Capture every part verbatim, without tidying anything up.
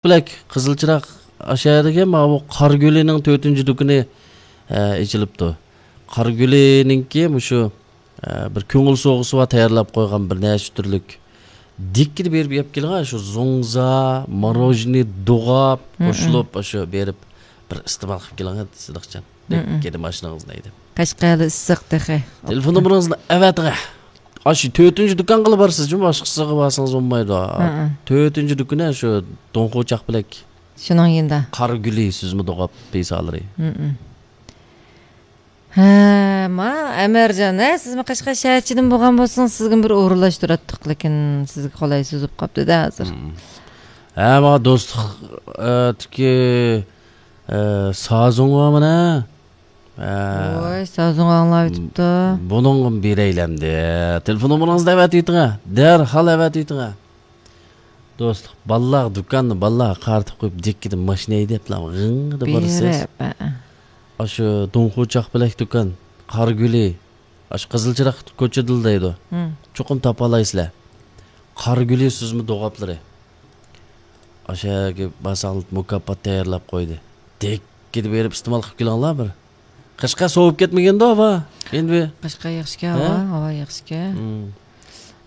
بىلەك قىزىل چىراغ ئاشۇ يەردىكى ماۋۇ قارا گۈلىنىڭ تۆتىنچى دۇكىنى، ئە، ئېچىلىپتۇ. قارا گۈلىنىڭكى مۇشۇ، ئە، بىر كۆڭۈل سوۋغىسى بار تەييارلاپ قويغان بىر نەچچە تۈرلۈك. دىككىدە بېرىپ يەپ كېلىڭ، شۇ زوڭزا، ماروژنى، دوغاپ قوشۇلۇپ، شۇ بېرىپ بىر ئىستېمال قىلىپ كېلىڭ، سىدىقجان. دىككىدە ماشىنىڭىزنى ھەيدەپ. قەشقەردە ئىسسىق تېخى. تېلېفون نومۇرىڭىزنى ئەۋەتىڭ. ئاشۇ تۆتىنچى دۇكانغىلا بارسىز جۇمۇ، باشقىسىغا بارسىڭىز بولمايدۇ. تۆتىنچى دۇكىنى شۇ دوڭخۇ چاقپەلەك. شۇنىڭ يېنىدا. قارا گۈلى سۈزمە دوغاپ پىسالىرى. ھە، ما، ئەمەرجان، ھە، سىزمۇ قەشقەر شەھەرچىدىن بولغان بولسىڭىز، سىزگىمۇ بىر ئورۇنلاشتۇراتتۇق، لېكىن سىزگە قولايسىز بولۇپ قاپتۇ-دە ھازىر. ھە، ما دوستلۇق، ئە، تىكى، ئە، سازۇڭ بارمىنا؟ ھە. ۋاي، سازۇڭ ئاڭلاۋېتىپتۇ. بۇنىڭغىمۇ بېرەيلەمدى. تېلېفون نومۇرىڭىزنى ئەۋەتىۋېتىڭە. دەرھال ئەۋەتىۋېتىڭە. دوستلۇق، بالىلارغا دۇكاننى بالىلارغا قارىتىپ قويۇپ، دىككىدە ماشىنا ھەيدەپلا غىڭ دەپ بارىسىز. بېرىپ، ھە. ئاشۇ دوڭخۇ چاقپەلەك دۇكان، قارا گۈلى، ئاشۇ قىزىل چىراغ كوچىدىلا دەيدۇ. چوقۇم تاپالايسىلەر. قارا گۈلى سۈزمە دوغاپلىرى. ئاشۇ يەرگە بارساڭلار مۇكاپات تەييارلاپ قويدى. دىككىدە بېرىپ ئىستېمال قىلىپ كېلىڭلار بىر. قەشقەر سوۋۇپ كەتمىگەندۇ ھاۋا؟ ئەمدى. قەشقەر ياخشىكەن، ھە؟ ھاۋا، ھاۋا ياخشىكەن.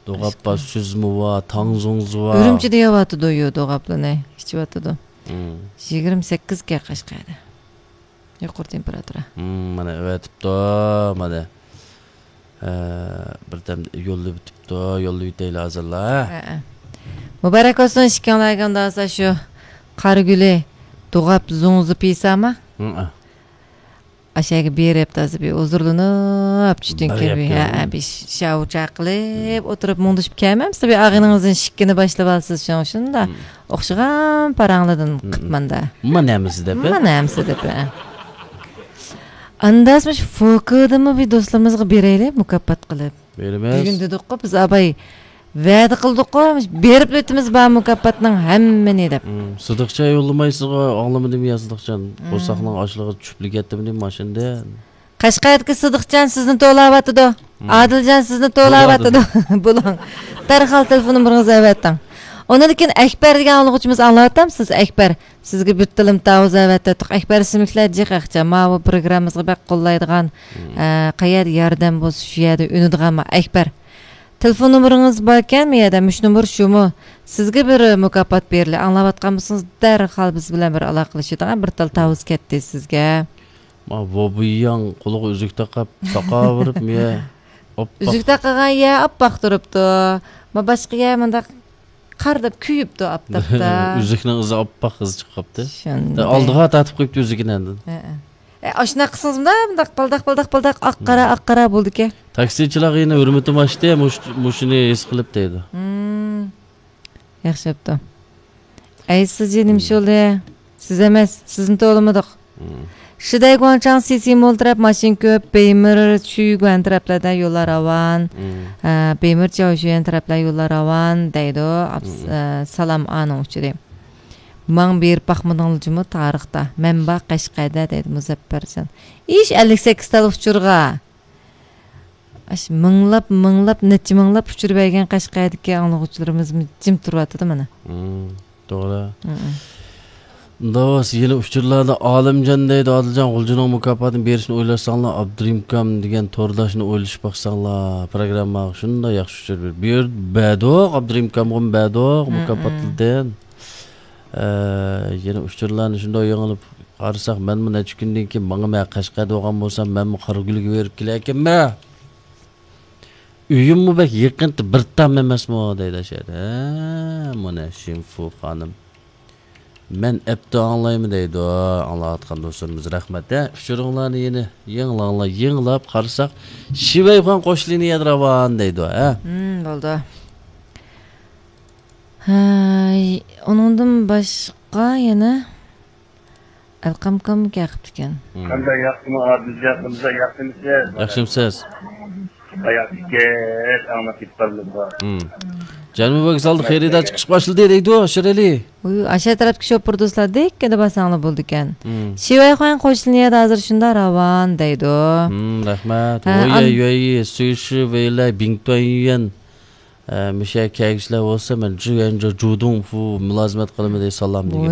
دوغاپ بار، سۈزمە بار، تاڭزۇڭزا بار. ئۈرۈمچىدە يەۋاتىدۇ، يو، دوغاپلىنى ئىچىۋاتىدۇ. يىگىرمە سەككىزكەن قەشقەردە. يۇقىرى تېمپېراتۇرا. مانا ئەۋەتىپتۇ، مانا. ھە، بىردەم يوللىۋېتىپتۇ، يوللىۋېتەيلى ھازىرلا. ھە، ھە. مۇبارەك بولسۇن ئىككىڭلارغا ئۇنداق بولسا شۇ قارا گۈلى دوغاپ زوڭزا پىساما. ئاشۇ يەرگە بېرىپ تازا بىر ھۇزۇرلىنىپ، چۈشتىن كېيىن بىر، ھە، بىر شاۋۇچا قىلىپ ئولتۇرۇپ مۇڭدىشىپ كەلمەمسىز؟ بىر ئاغىنىڭىزنىڭ ئىشىكىنى باشلىۋالسىز، شۇڭ شۇنداق ئوخشىغان پاراڭلاردىن قىپماندا. ما نەمىسى دەپ، ما نەمىسى دەپ، ھە. ئانداس مۇشۇ فوكىدىمۇ بىر دوستلىرىمىزغا بېرەيلى، مۇكاپات قىلىپ. بېرىمىز. بۈگۈن دېدۇققۇ بىز، ئاباي، ۋەدە قىلدۇققۇ، بېرىپ ئۆتىمىز بار مۇكاپاتنىڭ ھەممىنى دەپ. سىدىقچان يوللىمايسىزغۇ، ئاڭلىمىدىمۇ يا سىدىقچان؟ قورساقنىڭ ئاچلىقى چۈشۈپ كەتتىمۇ ماشىنىدىن؟ قەشقەردىكى سىدىقجان سىزنى توۋلاۋاتىدۇ. ئادىلجان سىزنى توۋلاۋاتىدۇ. بولۇڭ. دەرھال تېلېفون نومۇرىڭىزنى ئەۋەتىڭ. ئۇنىڭدىن كېيىن ئەكبەر دېگەن ئاڭلىغۇچىمىز، ئاڭلاۋاتامسىز؟ ئەكبەر، سىزگە بىر تىلىم تاۋۇز ئەۋەتتۇق. ئەكبەر ئىسىملىكلەر جىق ئەخچە. ماۋۇ پروگراممىمىزغا بەك قوللايدىغان، ئە، قەيەردە ياردەم بولسا، شۇ يەردە ئۈنىدىغان ما ئەكبەر. تېلېفون نومۇرىڭىز باركەن، مۇ يەردە مۇشۇ نومۇر شۇمۇ؟ سىزگە بىر مۇكاپات بېرىلى. ئاڭلاۋاتقان بولسىڭىز، دەرھال بىز بىلەن بىر ئالاقىلىشىدىغان بىر تال تاۋۇز كەتتى سىزگە. ما ۋوبۇياڭ قولىغا ئۈزۈك تاقاپ، تاقاۋېرىپ، مىيە ئاپئاق. ئۈزۈك تاقىغان يە ئاپئاق تۇرۇپتۇ. ما باشقا يە مۇنداق قار دەپ كۆيۈپتۇ ئاپتاپتا. ئۈزۈكنىڭ ئىزى ئاپئاق ئىزى چىقىپ قاپتۇ. شۇنداق. ئالدىغا تارتىپ قويۇپتۇ ئۈزۈكىنى ئاندىن. ھە، ھە. ئە، ئاشۇنداق قىلسىڭىز مۇنداق، مۇنداق بالداق، بالداق، بالداق، ئاق قارا، ئاق قارا بولىدىكەن. تاكسىچىلارغا يەنە ھۆرمىتىم ئاشتى، مۇش-، مۇشۇنى ھېس قىلىپ دەيدۇ. ياخشى بوپتۇ. ئەي، سىز جېنىم شولى، سىز ئەمەس، سىزنى توۋلىمىدۇق. شىدەي گۇاڭچاڭ سىسى مول تەرەپ ماشىنا كۆپ، بېيمىر، چۈيگۇەن تەرەپلەردە يوللار راۋان. ھە، بېيمىر، چاۋشيۈەن تەرەپلەر يوللار راۋان دەيدۇ. ئاپس-، ئە، سالام ئانىڭ ئۇچۇرى. ماڭا بېرىپ باقمىدىڭلار جۇمۇ تارىختا. مەن بار قەشقەردە دەيدۇ مۇزەپپەرجان. ئىش ئەللىك سەككىز تال ئۇچۇرغا. ئاشۇ مىڭلاپ، مىڭلاپ، نەچچە مىڭلاپ ئۇچۇر بەرگەن قەشقەردىكى ئاڭلىغۇچىلىرىمىزمۇ جىم تۇرۇۋاتىدۇ مانا. توغرا. دوست، يەنە ئۇچۇرلاردا ئالىمجان دەيدۇ، ئادىلجان غۇلجىنىڭ مۇكاپاتىنى بېرىشنى ئويلاشساڭلار، ئابدۇرېھىمكام دېگەن تورداشنى ئويلىشىپ باقساڭلار، پروگرامماغا شۇنداق ياخشى ئۇچۇر بېرىپ، بۇ يەردە بەردۇق ئابدۇرېھىمكامغىمۇ بەردۇق، مۇكاپاتلىدىن. ئە، يەنە ئۇچۇرلارنى شۇنداق يېڭىلىپ قارىساق، مەنمۇ نەچچە كۈندىن كېيىن ماڭىمەن، قەشقەردە بولغان بولسام، مەنمۇ قارىگۈلگە بېرىپ كېلەركەنمەن. ئۆيۈممۇ بەك يېقىنتى، بىر تام ئەمەسمۇ دەيدۇ ئاشۇ يەردە. ھە، مانا شىنفۇ خانىم. مەن ئەپتۇ ئاڭلايمەن دەيدۇ. ئاڭلاۋاتقان دوستلىرىمىز رەھمەت. ھە، ئۇچۇرۇڭلارنى يەنە يېڭىلاڭلار، يېڭىلاپ قارىساق، شىۋەيخۇەن قوش لىنىيەدە راۋان دەيدۇ. ھە. بولدى. ھەي، ئۇنىڭدىن باشقا يەنە ئەلقەمكاممۇ كەقىپتىكەن. قانداق ياخشىمۇ ئادىلجان، قانداق ياخشىمۇسىز؟ ياخشىمۇسىز؟ ياخشىكەن، ئاڭلاپ كېتىپ قالدىم. جەنۇبىي ۋوگزالدا خېرىدار چىقىش باشلىدى دەيدۇ، شىرئەلى. ئاشۇ تەرەپتىكى شوپۇر دوستلار دىككىدە بارساڭلار بولىدىكەن. شىۋەيخۇەن قوش لىنىيەدە ھازىر شۇنداق راۋان دەيدۇ. رەھمەت. ھە، ۋويە، يۈەيى، سۈيشى، ۋېيلەي، بىڭتۈەن، يۈەن. ئە، مۇشۇ يەرگە كەلگۈچىلەر بولسا، مەن جۈگەنجۇ جۇدۇڭفۇ مۇلازىمەت قىلىمەن دەي سالام دېگەن.